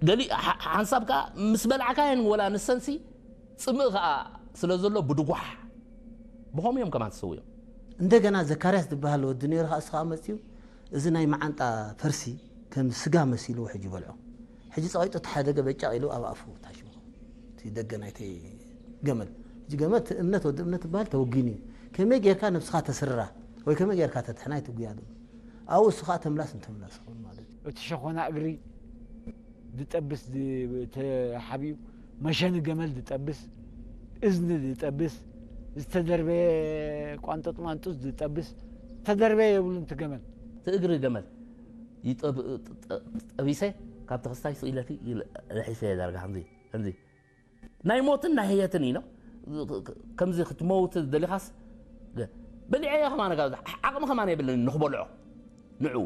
ገሊ ሓንሳብ ከዓ ምስ በላዕካየን ወላ ንሰንሲ ፅምእ ከዓ ስለ ዘሎ ብድጓሕ ብኸምኡ እዮም ከማን ትስውዮም። እንደገና ዘካርያስ ዝበሃል ወዲ ነይሩ ከዓ እሱ ከዓ መፅዩ እዚ ናይ መዓንጣ ፈርሲ ከም ስጋ መሲልዎ ሕጂ በልዖ። ሕጂ ፀቒጡ ተሓደገ በጫቕ ኢሉ ኣብ ኣፉ ታሽሙ እቲ ደገ ናይቲ ገመል። ሕጂ ገመል እቲ እምነት ወዲ እምነት ዝበሃል ተወጊኑ እዩ። ከመይ ጌርካ ነብስኻ ተስርራ ወይ ከመይ ጌርካ ተትሕና ይትጉያ ዶ ኣብኡ እሱ ከዓ ተምላስ እንተምላስ ይኸውን ማለት እዩ። እቲ ሸኾና እግሪ ዝጠብስ ተሓቢኡ መሸኒ ገመል ዝጠብስ እዝኒ ዝጠብስ ዝተደርበየ ቋንጠጥ ማንጡስ ዝጠብስ ተደርበየ የብሉ እቲ ገመል እቲ እግሪ ገመል ጠቢሰ ካብ ተኸስታይ ስኢለቲ ርሒሰ ዳርጋ ከምዚ ከምዚ ናይ ሞትን ናይ ህየትን ኢኖ ከምዚ ክትመውት ደሊኻስ በሊዐ ከማነ ዓቕሚ ከማነ የብለኒ ንክበልዖ ንዕኡ